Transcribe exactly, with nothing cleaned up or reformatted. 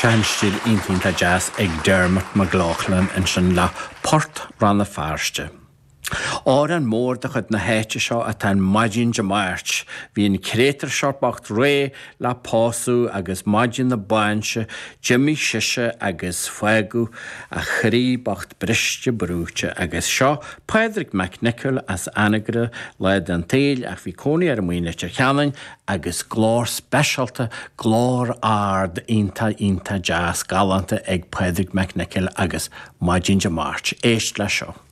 Sean stíl iontach deas ag Dermot McLaughlin ansin le Port Rann na Feirste. Amhrán mór de chuid na háite seo atá in Maidin Dé Máirt. Bhí an créatúr seo bocht réidh le pósadh agus maidin na bainse d'imigh sise agus fágadh a chroí bocht briste brúite agus seo Pádraig Mac Niocaill as Anagaire lá den tsaol ach bhí cónaí air i Leitir Ceanainn agus glór speisialta glór ard iontach iontach deas galánta ag Pádraig Mac Niocaill agus Maidin Dé Máirt. Éist le seo.